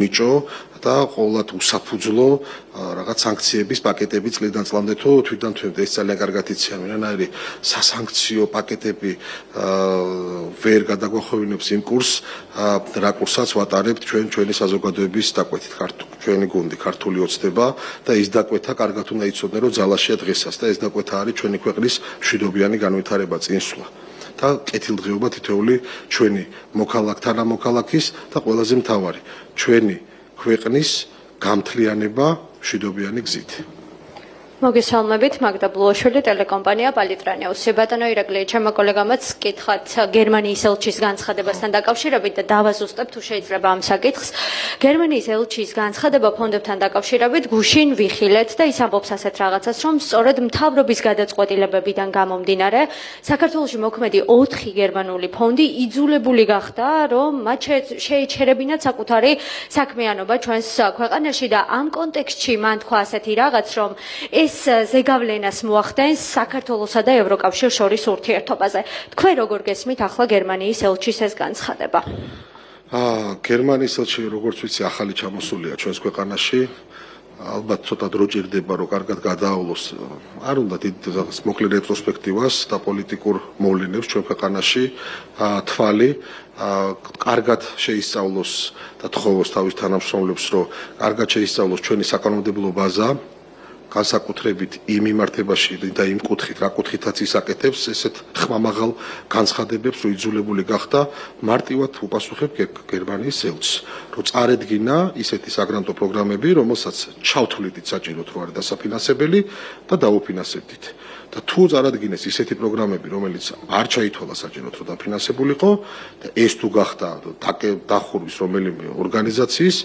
მიჭო და ყოველად უსაფუძვლო რაღაც სანქციების პაკეტები წლიდან წლამდე თუ თვითონ ეს ძალიან კარგად იციან, ვინაირი სასანქციო პაკეტები ვერ გადაგვახოვინებს იმ კურსს, რა კურსაც ვატარებთ ჩვენი საზოგადოების დაკვეთით, ჩვენი გუნდი, ქართული ოცნება და ის დაკვეთა კარგად უნდა იცოდნენ, რომ ძალაშია დღესაც და ეს დაკვეთა არის ჩვენი ქვეყნის მშვიდობიანი განვითარება, წინსვლა. და კეთილდღეობა თითოეული ჩვენი მოქალაქთანამოქალაქის და ყველაზე მთავარი ჩვენი ქვეყნის გამთლიანება მშვიდობიანი გზით. მოგესალმებით, მაგდა ბლუაშვილი, ტელეკომპანია პალიტრანეუსი. ბატონო ირაკლი, ჩემო კოლეგამაც კითხავთ გერმანიის ელჩის განცხადებასთან დაკავშირებით და დავაზუსტებ თუ შეიძლება ამ საკითხს. გერმანიის ელჩის განცხადება ფონდებთან დაკავშირებით გუშინ ვიხილეთ და ის ამბობს ასეთ რაღაცას, რომ სწორედ მთავრობის გადაწყვეტილებებიდან გამომდინარე, საქართველოში მოქმედი 4 გერმანული ფონდი იძულებული გახდა, რომ მათ შეეჩერებინათ საკუთარი საქმიანობა ჩვენს ქვეყანაში და ამ კონტექსტში მან თქვა ასეთი რაღაც, რომ ეს ზეგავლენას მოახდენს საქართველოსა და ევროკავშირს შორის ურთიერთობაზე. თქვენ როგორ გესმით ახლა გერმანიის ელჩის ეს განცხადება? გერმანიის ელჩი, როგორც ვიცი, ახალი ჩამოსულია ჩვენს ქვეყანაში. ალბათ ცოტა დრო ჭირდება, რომ კარგად გადაავლოს. არ უნდა დიდ მოკლე რეტროსპექტივას და პოლიტიკურ მოვლენებს ჩვენ ქვეყანაში თვალი. კარგად შეისწავლოს და თხოვოს თავის თანამშრომლებს, რომ კარგად შეისწავლოს ჩვენი საკანონმდებლო ბაზა. განსაკუთრებით იმ მიმართებაში და იმ კუთხით, რა კუთხითაც ისაკეთებს ესეთ ხმამაღალ განცხადებებს, რომ იძულებული გახდა მარტივად უპასუხებ გერმანიის ელჩს, რომ წარედგინა ისეთი საგრანტო პროგრამები, რომელსაც ჩავთვლიდით საჭიროდ, რომ არის დასაფინანსებელი და დაუფინანსებდით. და თუ წარადგინეს ისეთი პროგრამები, რომელიც არ ჩაითვალა საჭიროდ, რომ დაფინანსებულიყო და ეს თუ გახდა დახურვის რომელიმე ორგანიზაციის,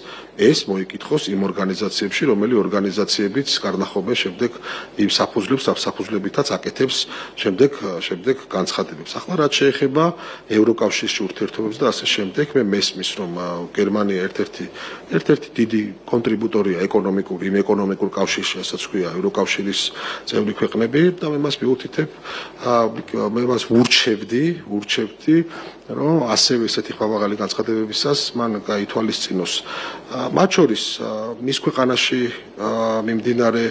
ეს მოიკითხოს იმ ორგანიზაციებში, რომელი ორგანიზაციებიც კარნახობენ შემდეგ იმ საფუძვლებითაც აკეთებს შემდეგ განცხადებებს. ახლა რაც შეეხება ევროკავშირში ურთიერთობებს და ასე შემდეგ, მე მესმის, რომ გერმანია ერთ-ერთი დიდი კონტრიბუტორია იმ ეკონომიკურ კავშირში, რასაც ქვია ევროკავშირის წევრი ქვეყნები და მე მას მიუთითებ, მე მას ურჩევდი, რომ ასევე ესეთი ხმამაღალი განცხადებებისას მან გაითვალისწინოს. მათ შორის მის ქვეყანაში მიმდინარე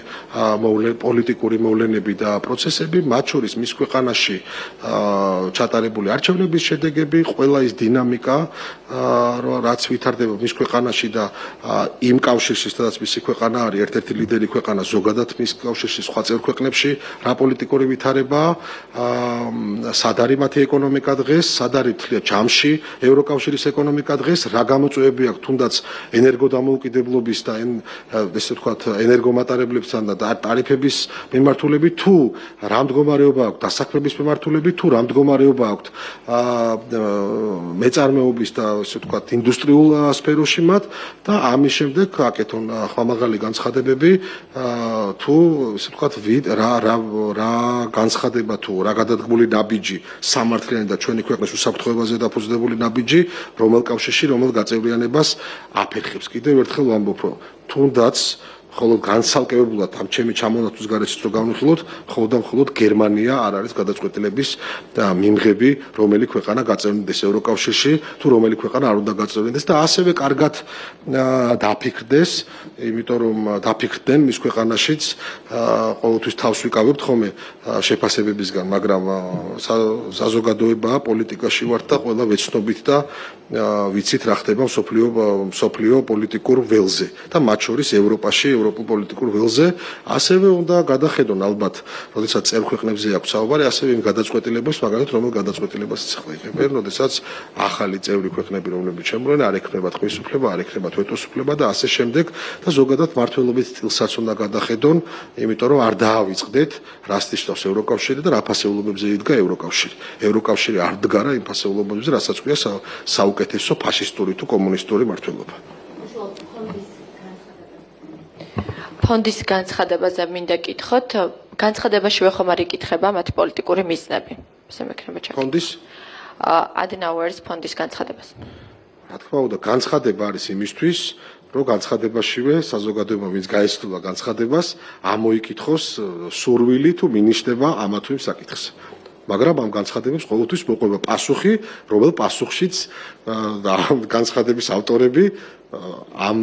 პოლიტიკური მოვლენები და პროცესები, მათ შორის მის ქვეყანაში ჩატარებული არჩევნების შედეგები, ყველა ის დინამიკა, რაც ვითარდება მის ქვეყანაში და იმ კავშირში, სადაც მისი ქვეყანა არის ერთ-ერთი ლიდერი ქვეყანა ზოგადად მის კავშირში სხვა წევრ ქვეყნებში, რა პოლიტიკური ვითარებაა, სად არის მათი ეკონომიკა დღეს, სად არის ჯამში ევროკავშირის ეკონომიკა დღეს, რა გამოწვევები აქვს თუნდაც ენერგოდამოუკიდებლობის და ესე ვთქვათ ენერგომატარებლებთან და ტარიფების მიმართულებით, თუ რა მდგომარეობა აქვს დასაქმების მიმართულებით, თუ რა მდგომარეობა აქვს მეწარმეობის და ესე ვთქვათ ინდუსტრიულ სფეროში მათ და ამის შემდეგ აკეთონ ხმამაღალი განცხადებები, თუ ესე ვთქვათ რა განცხადება თუ რა გადადგმული ნაბიჯი სამართლიანი და ჩვენი ქვეყნის უსაფრთხოებაზე დაფუძნებული ნაბიჯი, რომელ კავშირში, რომელ გაწევრიანებას აფერხებს. კიდევ ერთხელ ვამბობ, რომ თუნდაც ხოლო განსალკევებულად ამ ჩემი ჩამონათვლის გარეშეც რო განვიხილოთ, მხოლოდ გერმანია არ არის გადაწყვეტილების მიმღები, რომელი ქვეყანა გაწევრინდეს ევროკავშირში, თუ რომელი ქვეყანა არ უნდა გაწევრინდეს და ასევე კარგად დაფიქრდეს, იმიტომ რომ დაფიქრდნენ მის ქვეყანაშიც ყოველთვის თავს ვიკავებთ ხოლმე შეფასებებისგან, მაგრამ საზოგადოება პოლიტიკაში ვართ და ყველა ვეცნობით და ვიცით რა ხდება მსოფლიო პოლიტიკურ ველზე და მათ შორის ევროპაში, ევროპულ პოლიტიკურ ველზე, ასევე უნდა გადახედონ ალბათ, როდესაც წევრ ქვეყნებზე აქვს საუბარი, ასევე იმ გადაწყვეტილებას, მაგალითად, რომელ გადაწყვეტილებასაც ახლა იღებენ, როდესაც ახალი წევრი ქვეყნები, რომლებიც შემოვლენ, არ ექნებათ ხმის უფლება, არ ექნებათ ვეტოს უფლება და ასე შემდეგ და ზოგადად მართლობის სტილსაც უნდა გადახედონ, იმიტომ რომ არ დაავიწყდეთ, რას ნიშნავს ევროკავშირი და რა ფასეულობებზე იდგა ევროკავშირი. ევროკავშირი არ დგარა იმ ფასეულობებზე, რასაც ქვია საუკეთესო ფაშისტური თუ კომუნისტური მართლობა. ფონდის განცხადებაზე მინდა კითხოთ, განცხადებაშივე ხომ არ იკითხება მათი პოლიტიკური მიზნები. ესე მექნება ჩაკითხვა. ფონდის Adenaueris ფონდის განცხადებას. რა თქმა უნდა, განცხადება არის იმისთვის, რომ განცხადებაშივე საზოგადოება ვინც გაეცნობა განცხადებას, ამოიკითხოს სურვილი თუ მინიშნება ამა თუ იმ საკითხს. მაგრამ ამ განცხადებებს ყოველთვის მოყვება პასუხი, რომელ პასუხშიც განცხადების ავტორები ამ